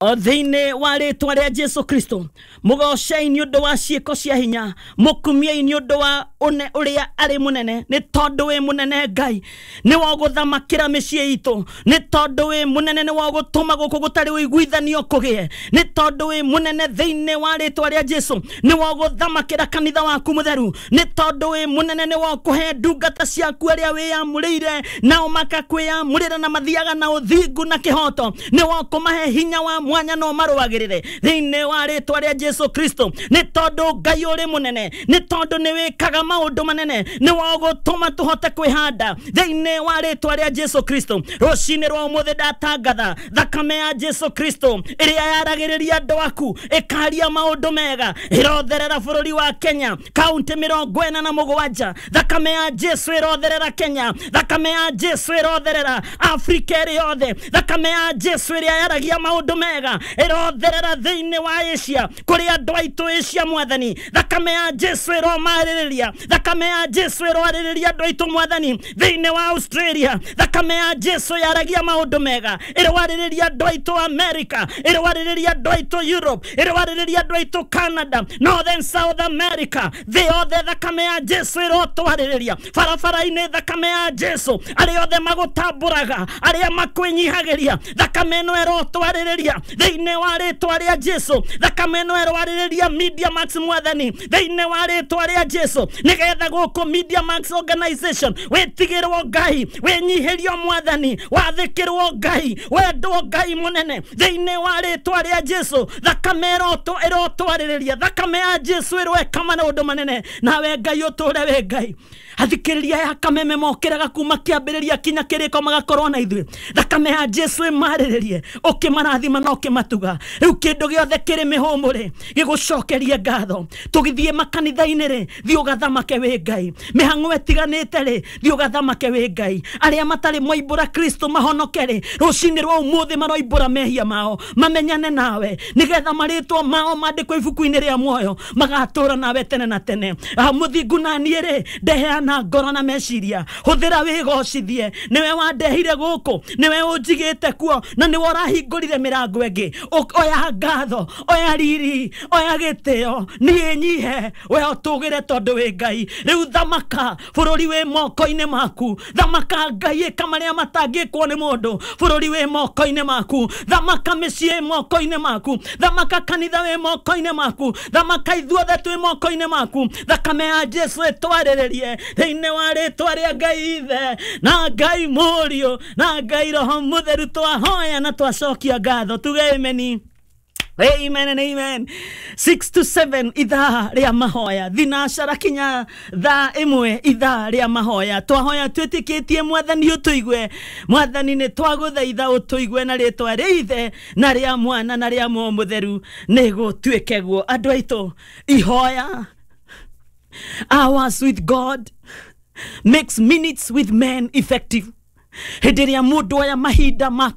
O thĩinĩ wa rĩtwa rĩa Jesu Kristo, mũgocei nĩ ũndũ wa ciĩko cia hinya, mũkumiei nĩ ũndũ wa ũne ũrĩa arĩ mũnene. Nĩ tondũ wĩ mũnene Ngai, nĩ wagũthamakĩra mĩciĩ itũ. Nĩ tondũ wĩ mũnene, nĩ wagũtũma gũkũ gũtarĩ ũiguithanio kũgĩe. Nĩ tondũ wĩ mũnene, thĩinĩ wa rĩtwa rĩa Jesu, nĩ wagũthamakĩra kanitha waku mũtheru. Nĩ tondũ wĩ mũnene, nĩ wakũhe ndungata ciaku arĩa wĩyamũrĩire, nao makakwĩyamũrĩra na mathiaga na ũthingu na kĩhoto. Nĩ wakũmahe hinya wa mwanya no marũagĩrĩre thĩinĩ wa rĩtwa rĩa Jesu Kristo. Nĩ tondũ Ngai ũrĩ mũnene, nĩ tondũ nĩ wĩkaga maũndũ manene, nĩ wagũtũma tũhote kwĩhanda thĩinĩ wa rĩtwa rĩa Jesu Kristo. Rũcinĩ rwa ũmũthĩ ndatangatha thakame ya Jesu Kristo ĩrĩa yaragĩrĩria andũ aku, ĩkaria maũndũ mega, ĩrotherera bũrũri wa Kenya, kaunti 47. Thakame ya Jesu ĩrotherera Kenya, thakame ya Jesu ĩrotherera Afrika ĩrĩ yothe, thakame ya Jesu ĩrĩa yaragia maũndũ mega ĩrotherera thĩinĩ wa Asia, kũrĩ andũ aitũ Asia. Mwathani, thakame ya Jesu ĩromarĩrĩria, thakame ya Jesu ĩroarĩrĩria andũ aitũ, Mwathani, thĩinĩ wa Australia. Thakame ya Jesu yaragia maũndũ mega ĩroarĩrĩria andũ aitũ America, ĩroarĩrĩria andũ aitũ Europe, ĩroarĩrĩria andũ aitũ Canada, Northern South America, thĩ yothe. Thakame ya Jesu ĩrotwarĩrĩria barabara-inĩ. Thakame ya Jesu, arĩa othe magũtambũraga, arĩa makwĩnyihagĩria, thakame ĩno ĩrotwarĩrĩria thĩinĩ wa rĩtwa rĩa Jesu. Thakame ĩno ĩroarĩrĩria Media Max, Mwathani, thĩinĩ wa rĩtwa rĩa Jesu, nĩgetha gũkũ Media Max Organization wĩtigĩrwo Ngai, wĩnyihĩrio Mwathani, wathĩkĩrwo Ngai, wendwo Ngai mũnene, thĩinĩ wa rĩtwa rĩa Jesu. Thakame ĩrotwarĩrĩria, thakame ya Jesu ĩroeka maũndũ manene, nawe Ngai ũtũre wĩ Ngai. Athikĩrĩria ya Kameme mokĩraga kuma kĩambĩrĩria kinya kĩrĩko magakorwo na ithuĩ. Thakame ya Jesu ĩmarĩrĩrie, ũkĩmarathima na ũkĩmatuga. Rĩu kĩndũ gĩothe kĩrĩ mĩhũmũ rĩ, gĩgũcokerie ngatho. Tũgĩthiĩ makanitha-inĩ rĩ, thiĩ ũgathamake wĩ Ngai. Mĩhang'o ĩtiganĩte rĩ, thiĩ ũgathamake wĩ Ngai. Arĩa matarĩ moimbũra Kristo mahonoke rĩ, rũcinĩ rwa ũmũthĩ maroimbũra mehia mao, mamenyane nawe, nĩgetha marĩtwa mao mandĩkwo ibuku-inĩ rĩa muoyo, magatũra nawe tene na tene. Mũthingu na niĩ rĩ, ndeheana ngoro na meciria, hũthĩra wĩgocithie. Nĩwe wandehire gũkũ, nĩwe ũnjigĩte kuo, na nĩwe ũrahingũrire mĩrango ĩngĩ. Oya ngatho, oya riri, oya gĩtĩo. Niĩ nyihe, we ũtũgĩre, tondũ wĩ Ngai. Rĩu thamaka, bũrũri wĩ moko-inĩ maku. Thamaka Ngai, ĩka marĩa matangĩkwo nĩ mũndũ. Bũrũri wĩ moko-inĩ maku. Thamaka, mĩciĩ moko-inĩ maku. Thamaka, kanitha wĩ moko-inĩ maku. Thamaka, ithuothe twĩ moko-inĩ maku. Thakame ya Jesu ĩtwarĩrĩrie thĩinĩ wa rĩtwa rĩa Ngai Ithe na Ngai Mũriũ na Ngai Roho Mũtheru. Twahoya na twacokia ngatho, tuge ameni. Amen and amen. 6 to 7, ithaa rĩa mahoya, thinacara kinya thaa 1, ithaa rĩa mahoya. Twahoya twĩtĩkĩtie Mwathani ũtũigue. Mwathani, nĩ twagũthaitha ũtũigue na rĩtwa rĩa Ithe na rĩa Mwana na rĩa Muoyo Mũtheru, nĩ gũtuĩke guo. Andũ aitũ, ihoya, hours with God makes minutes with men effective. Hĩndĩ ĩrĩa mũndũ oya mahinda ma